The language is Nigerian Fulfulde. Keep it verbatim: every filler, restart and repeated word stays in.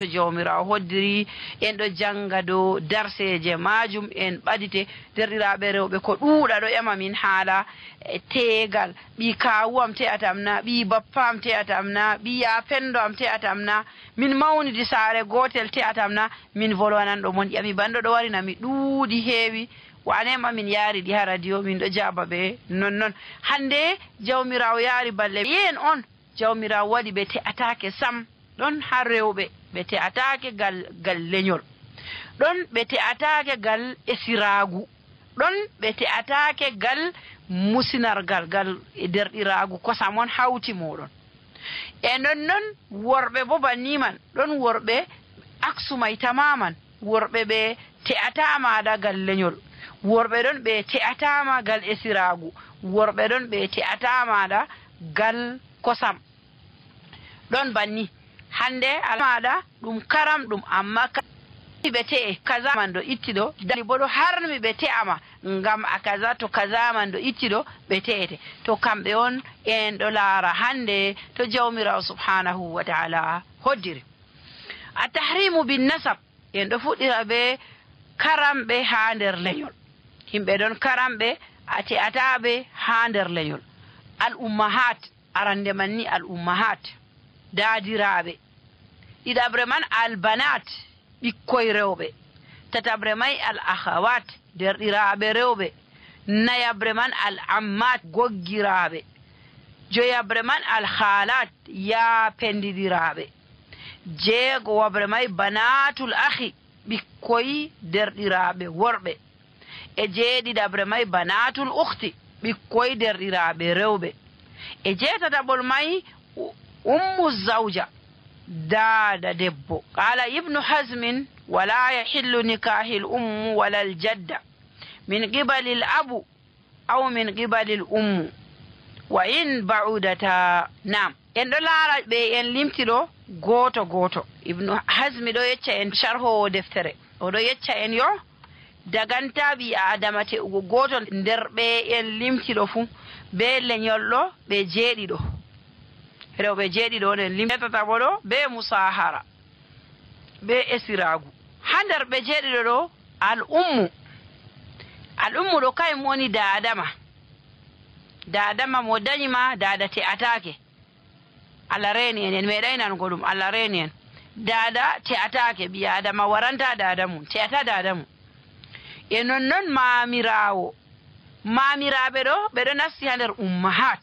to jawmirawo hoddiri en ɗo janga dow darseje majum en ɓadite derɗiraɓe rewɓe ko ɗuuɗa ɗo ƴama min haala tegal ɓi kawuwam te'atam na ɓi bappam te'atam na ɓi ya pendo am te'atam na min mawnidi saare gotel te'atam na min volwanan ɗo mon ƴami banɗo ɗo warina mi ɗuuɗi heewi wanema min yaari ɗi ha radio min ɗo jaba ɓe nonnon hande jawmirawo yaari balle yen on jawmirawo waɗi ɓe te'atake sam ɗon har rewɓe ɓe te'atake gal gal leñol ɗon ɓe te'atake gal esiragu ɗon ɓe te'atake gal musinargal gal derɗiragu kosam on hawti moɗon e nonnon worɓe bo banniman ɗon worɓe aksumay tamaman worɓe ɓe te'atamaɗa gal leñol worɓe ɗon ɓe te'atama gal esiragu worɓe ɗon ɓe te'atamaɗa gal kosam ɗon banni hande almaɗa ɗum karam ɗum amma ɓe te'e kaza man ɗo ittiɗo dali bo ɗo harmi ɓe te'ama ngam a kaza to kaza man ɗo ittiɗo ɓe te'ete to kamɓe on en ɗo laara hande to jawmirawo subhanahu wa ta'ala hoddiri a tahrimu bin nasab en ɗo fuɗɗira ɓe karamɓe ha nder leñol himɓe ɗon karamɓe a te'ataɓe ha nder leñol al ummahat arande man ni al ummahat daadiraɓe ɗiɗaɓre man albanat ɓikkoy rewɓe tataɓre may al akhawat derɗiraɓe rewɓe nayaɓre man al ammat goggiraɓe joyaɓre man al khalat yaapendiɗiraɓe jeegowaɓre may banatul akhi ɓikkoy derɗiraɓe worɓe e jeeɗiɗaɓre may banatul ukhti ɓikkoy derɗiraɓe rewɓe e jeetataɓol may ummu zawja daada debbo qala ibnu hazmin wala yahillu nikahil ummu wala l jadda min qibali l abu aw min qibali l ummu wa in ba'udata nam en ɗo laara ɓe en limtiɗo gooto gooto ibnu hazmi ɗo yecca en sharhowo deftere oɗo yecca en yo daganta ɓi adama te'ugo gooto nder ɓe en limtiɗo fuu be leñolɗo ɓe jeeɗiɗo rewɓe jeeɗiɗo nen limtataɓo ɗo be musahara be esiragu ha nder ɓe jeeɗiɗo ɗo al ummu al ummu ɗo kayum woni dadama dadama mo dañima dada te'atake Allah reeni en en meeɗay nango ɗum Allah reeni en dada te'atake ɓi adama waranta dada mum te'ata dada mum e nonnon mamirawo mamiraɓe ɗo ɓeɗo nasti ha nder ummahat